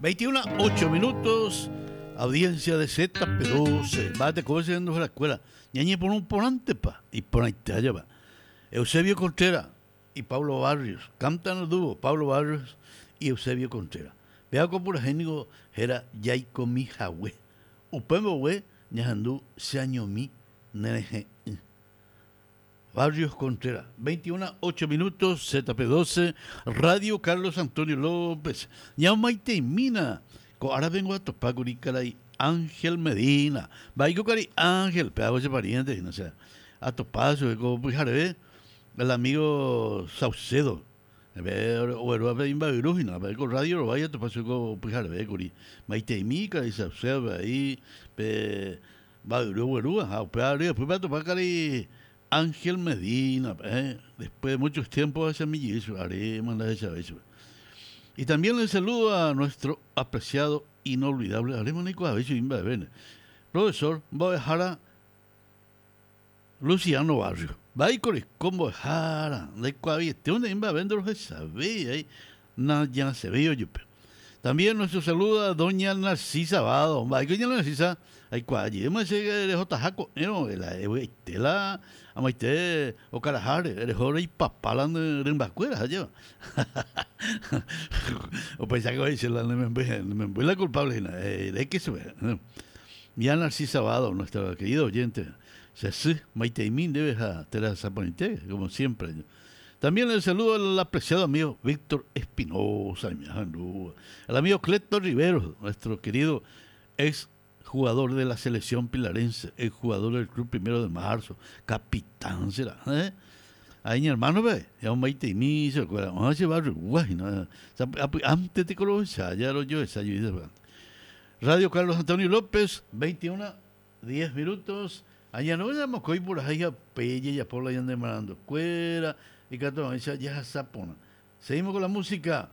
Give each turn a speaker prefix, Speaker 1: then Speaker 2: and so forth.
Speaker 1: 21 8 minutos, audiencia de ZP12. Mba'ete kóva che renduharakuéra, ñañepyrũ porãntepa, iporãite ajépa. Eusebio Contreras y Pablo Barrios, cantan el dúo Pablo Barrios y Eusebio Contreras. Péva ko purahéi niko héra Jaikomi hague. Upe mbogue ñahendu cheañomi nerehe'ỹ. Barrios Contreras, 21 8 minutos, ZP12, Radio Carlos Antonio López. Ñamomaiteimína, ko ára vengo atopákuri karai Ángel Medina. Mba'éiko karai Ángel, péva che pariente hína, osea, atopa chupe ko pyhareve el amigo Saucedo. Oguerúva pe imba'yru hína, ko radio rovái atopa chupe ko pyhareve kuri. Maiteimi karai Saucedo ahí pe Mba'yru oguerúva ha upéva ryepýpe atopa karai Ángel Medina pe, después de mucho tiempo ahechami jey chupe, aréma ndahechavéi chupe. Y también le saludo a nuestro apreciado inolvidable, aréma ndaikuaavéi chugui mba'evéne, profesor mbo'ehára Luciano Barrio. Mba'éiko reko mbo'ehára, ndaikuaaveiete oñe'ẽ mba'eve ndorohechavéi ai nañasẽvéi ojupe. También nuestro saludo a doña Narcisa Vado. Mba'éiko ña Narcisa aikuaa jeýma che rehotaha ko'ẽrõ la evy'aite la amaite okaraháre reho reipapa la ne rymbakuéra ha jeva. Upéicha ko he'i la ne memby, ne memby la culpable hína, eréke chupe. Ña Narcisa Vado, nuestra querida oyente, che sy, maiteimi ndéve ha terahasa porãite, como siempre. También le saludo al apreciado amigo Víctor Espinoza, al amigo Cleto Rivero, nuestro querido ex jugador de la selección pilarense, ex jugador del club Primero de Marzo, capitán será, ¿eh? Ahí mi hermano ve, ya un maiteimi se acuerda, ah, se va a no, antes te conocí, ya lo yo esa yo Radio Carlos Antonio López, 21 10 minutos. Aña no mokõi purahéi ha upéi jajapo la ñane marandukuéra ikatu hag̃uáicha jahasa porã. Seguimos con la música.